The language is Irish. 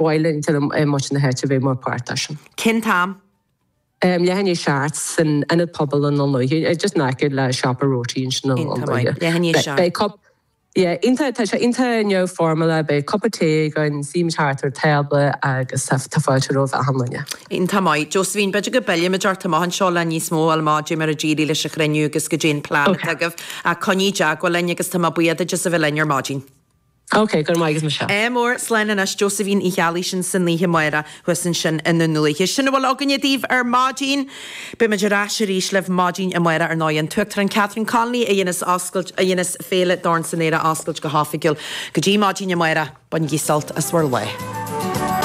mhaith le muintir na háite bheith mar páirt de sin. Cén t-am? Leath i ndiaidh 7 san Ionad Pobail i nDún Lúiche, just in aice le siopa Roti ansin i nDún Lúiche. Leath i ndiaidh 7. Beidh cup, yeah, iontach, tá sé iontach neamhfhoirmiúil, beidh cupa tae againn, suímid thart ar tábla agus tá fáilte roimh achan duine. Iontach maith. Josephine, b'fhéidir go bpillfimid ort amach anseo le níos mó a fháil amach caidé mar a d'éirigh leis an chruinniú agus caidé an plean atá agaibh. Ach coinnigh i dteagmháil linn agus tá mé buíoch duit as a bheith linn ar maidin. Ok, go raibh maith agat Michelle. Ádh mór, slán anois, Josephine Uí Cheallaigh sin san oíche amárach thuas ansin i nDún Lúiche. Sin a bhfuil againne daoibh ar maidin. Beidh muid ar ais arís libh maidin amárach ar ndóigh. An tUachtarán Catherine Connolly a dhéanas oscailt, a dhéanas Féile Dorn san Aer a oscailt go hoifigiúil. Go dtí maidin amárach, bainigí sult as bhur lá.